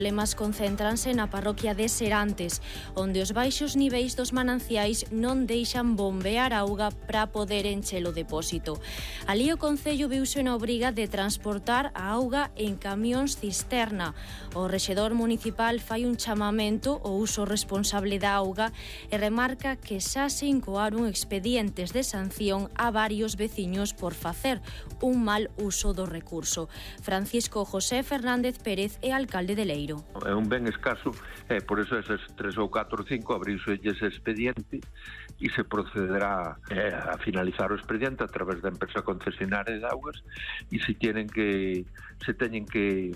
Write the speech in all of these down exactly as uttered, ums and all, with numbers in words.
Os problemas concéntranse na parroquia de Serantes, onde os baixos niveis dos mananciais non deixan bombear auga para poder encher o depósito. Alí o Concello viuse na obriga de transportar a auga en camións cisterna. O rexedor municipal fai un chamamento ao uso responsable da auga e remarca que xa se incoaron expedientes de sanción a varios veciños por facer un mal uso do recurso. Francisco José Fernández Pérez é alcalde de Leiro. É un ben escaso, e por eso eses tres ou catro ou cinco abriuse ese expediente e se procederá eh, a finalizar o expediente a través da empresa concesionaria de augas e se tienen que se teñen que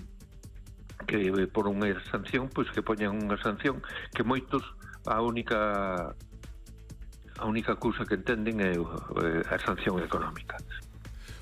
que por unha sanción, pois que poñan unha sanción que moitos a única a única cousa que entenden é a sanción económica.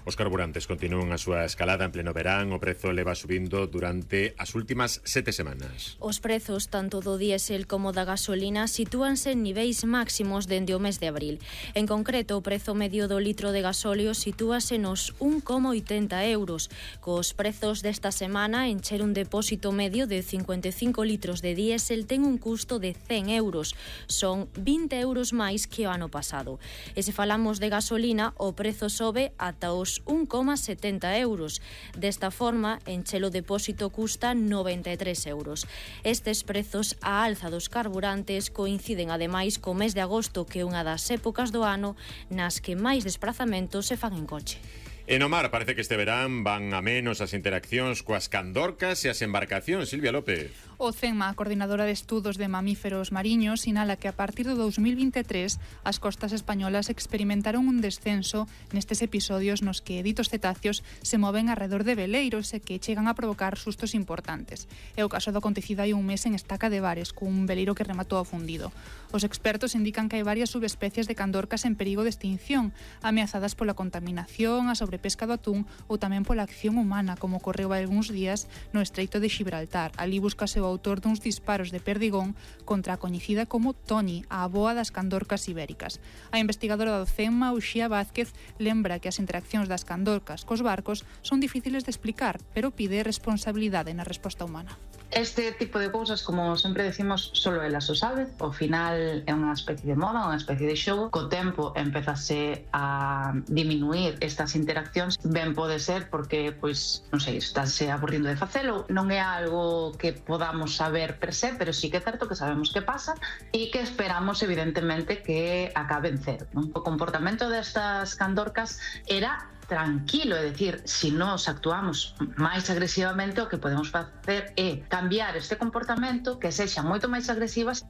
Os carburantes continúan a súa escalada en pleno verán. O prezo leva subindo durante as últimas sete semanas. Os prezos tanto do diésel como da gasolina sitúanse en niveis máximos dende o mes de abril. En concreto, o prezo medio do litro de gasóleo sitúase nos un coma oitenta euros. Cos prezos desta semana, encher un depósito medio de cincuenta e cinco litros de diésel ten un custo de cen euros. Son vinte euros máis que o ano pasado. E se falamos de gasolina, o prezo sobe ata os un coma setenta euros. Desta forma, encher o depósito custa noventa e tres euros. Estes prezos á alza dos carburantes coinciden ademais co mes de agosto, que é unha das épocas do ano nas que máis desprazamentos se fan en coche. E no mar parece que este verán van a menos as interaccións coas candorcas e as embarcacións. Silvia López. O CEMA, a Coordinadora de Estudos de Mamíferos Mariños, sinala que a partir do dos mil vinte e tres as costas españolas experimentaron un descenso nestes episodios nos que ditos cetáceos se moven arredor de veleiros e que chegan a provocar sustos importantes. É o caso do acontecido hai un mes en Estaca de Bares, cun veleiro que rematou afundido. Os expertos indican que hai varias subespecies de candorcas en perigo de extinción, ameazadas pola contaminación, a sobrepesca do atún ou tamén pola acción humana, como ocorreu hai algúns días no Estreito de Xibraltar. Ali buscase o autor duns disparos de perdigón contra a coñecida como Toni, a avoa das candorcas ibéricas. A investigadora do CEMA, Uxía Vázquez, lembra que as interaccións das candorcas cos barcos son difíciles de explicar, pero pide responsabilidade na resposta humana. Este tipo de cousas, como sempre decimos, solo elas o saben. Ao final é unha especie de moda, unha especie de xogo. Co tempo empezase a diminuir estas interaccións. Ben pode ser porque, pois, non sei, estáse aburrindo de facelo. Non é algo que podamos saber per se, pero sí que é certo que sabemos que pasa e que esperamos, evidentemente, que acaben cero, non? O comportamento destas candorcas era tranquilo, é dicir, se nós actuamos máis agresivamente, o que podemos facer é cambiar este comportamento, que sexa moito máis agresivas.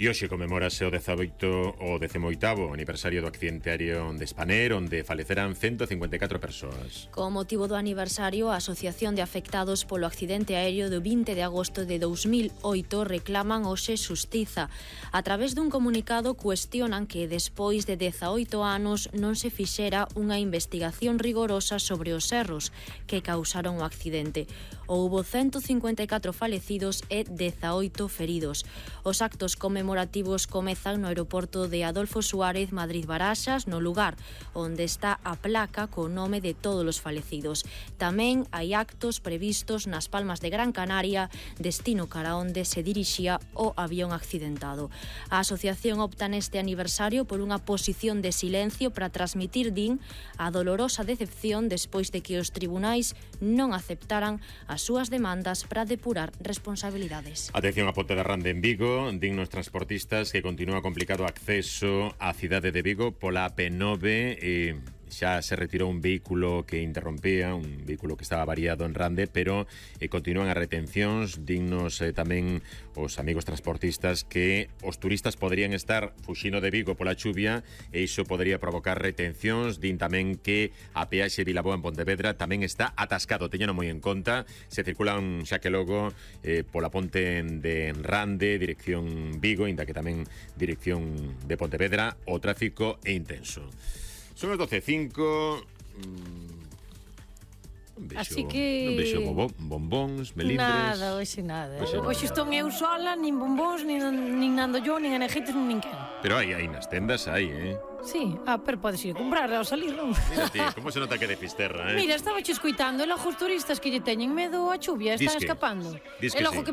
E hoxe conmemórase o dezaoito o decimoitavo aniversario do accidente aéreo de Spanair, onde faleceran ciento cincuenta e catro persoas. Con motivo do aniversario, a Asociación de Afectados polo Accidente Aéreo do vinte de agosto de dous mil oito reclaman hoxe xustiza. A través dun comunicado cuestionan que despois de dezaoito anos non se fixera unha investigación rigorosa sobre os erros que causaron o accidente. Houbo ciento cincuenta e catro falecidos e dezaoito feridos. Os actos conmemorativos comezan no aeroporto de Adolfo Suárez, Madrid-Baraxas, no lugar onde está a placa co nome de todos os falecidos. Tamén hai actos previstos nas Palmas de Gran Canaria, destino cara onde se dirixía o avión accidentado. A asociación opta neste aniversario por unha posición de silencio para transmitir, din, a dolorosa decepción despois de que os tribunais non aceptaran as súas demandas para depurar responsabilidades. Atención a Ponte de Rande en Vigo, din nos transportistas que continúa complicado o acceso á cidade de Vigo pola A P nove e xa se retirou un vehículo que interrompía, un vehículo que estaba variado en Rande, pero eh, continúan as retencións. Dignos eh, tamén os amigos transportistas que os turistas poderían estar fuxindo de Vigo pola chuvia e iso podería provocar retencións. Din tamén que a peaxe Vilaboa en Pontevedra tamén está atascado, teñeno moi en conta. Se circulan xa que logo eh, pola ponte de Rande, dirección Vigo, inda que tamén dirección de Pontevedra, o tráfico é intenso. Son as doce e cinco. Un bexo, así que... un bexo bobo, bombóns, melindres. Nada, hoxe nada. Hoxe, hoxe estou eu sola, nin bombóns, nin, nin ando yo, nin energéticos, nin quen. Pero hai, hai nas tendas, hai, eh? Sí, ah, pero podes ir a comprar ao salir, non? Mira ti, como se nota que de Fisterra, eh? Mira, estaba che escoitando, e logo os turistas que lle teñen medo a chuvia, están Disque, escapando. Disque e logo sí. que